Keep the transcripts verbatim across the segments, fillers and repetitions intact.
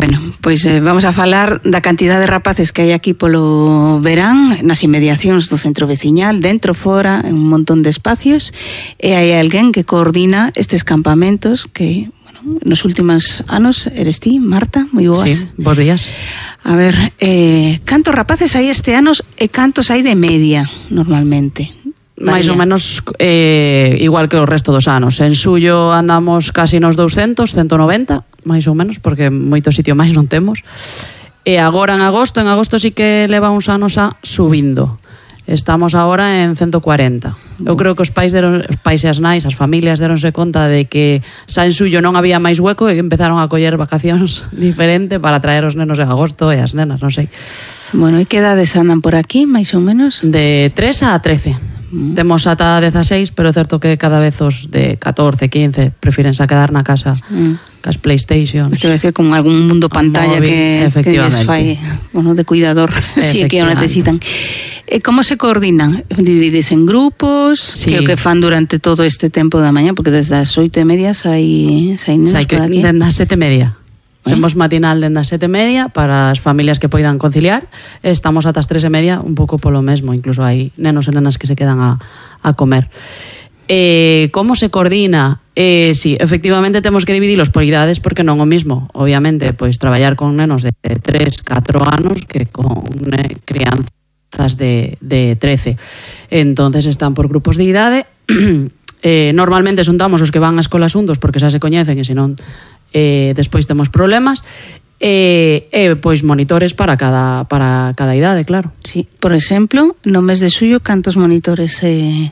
Bueno, pois eh, vamos a falar da cantidad de rapaces que hai aquí polo verán nas inmediacións do centro veciñal, dentro, fora, en un montón de espacios, e hai alguén que coordina estes campamentos que, bueno, nos últimos anos eres ti, Marta, moi boas. Sí, bons días. A ver, eh, cantos rapaces hai este anos e cantos hai de media, normalmente? Máis ou menos eh, igual que o resto dos anos. En Suyo andamos casi nos doscientos, ciento noventa, máis ou menos, porque moito sitio máis non temos. E agora en agosto, en agosto sí que leva uns anos a subindo. Estamos agora en ciento cuarenta. Eu creo que os pais, deron, os pais e as nais, as familias deronse conta de que xa en Suyo non había máis hueco e empezaron a coller vacacións diferente para traer os nenos en agosto e as nenas, non sei. Bueno, e que edades andan por aquí, máis ou menos? De tres a trece. Mm. Temos ata dezaseis, pero é certo que cada vez os de catorce, quince prefírense a quedar na casa mm. cas Playstations. Isto vai ser con algún mundo pantalla móvil, que, que les fai, bueno, de cuidador, si é que o necesitan. E como se coordinan? Divides en grupos, sí. Que o que fan durante todo este tempo da mañá, porque desde as oito e media sai, sai nenos por aquí. Desde as sete e media. ¿Eh? Temos matinal dende as sete e media para as familias que poidan conciliar. Estamos ata as tres e media un pouco polo mesmo. Incluso hai nenos e nenas que se quedan a, a comer. Eh, como se coordina? Eh, sí, efectivamente temos que dividilos por idades porque non o mismo. Obviamente, pois traballar con nenos de tres, catro anos que con ne, crianzas de, de trece. Entonces están por grupos de idade. eh, normalmente xuntamos os que van a escolas xuntos porque xa se coñecen e senón eh, despois temos problemas e eh, eh, pois monitores para cada para cada idade, claro. Sí, por exemplo, no mes de Suyo cantos monitores eh...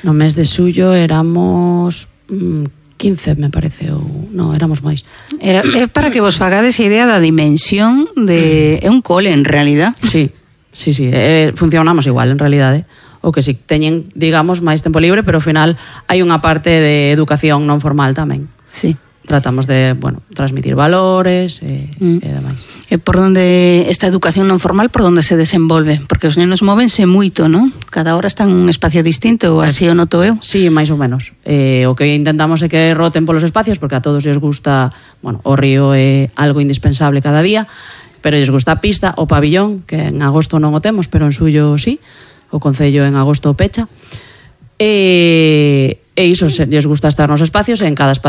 no mes de Suyo éramos mm, quince, me parece, ou non, éramos máis. Era é para que vos fagades a idea da dimensión de é un cole en realidad. Sí, sí, sí, eh, funcionamos igual en realidade. O que si teñen, digamos, máis tempo libre, pero ao final hai unha parte de educación non formal tamén. Sí. Tratamos de, bueno, transmitir valores e, mm. e demais. E por onde esta educación non formal, por onde se desenvolve? Porque os nenos móvense moito, non? Cada hora están en un espacio distinto, ou así o noto eu? Sí, máis ou menos. Eh, o que intentamos é que roten polos espacios, porque a todos lles gusta, bueno, o río é algo indispensable cada día, pero lles gusta a pista, o pabillón, que en agosto non o temos, pero en Suyo sí, o Concello en agosto pecha. E, e iso, lles gusta estar nos espacios, e en cada espacio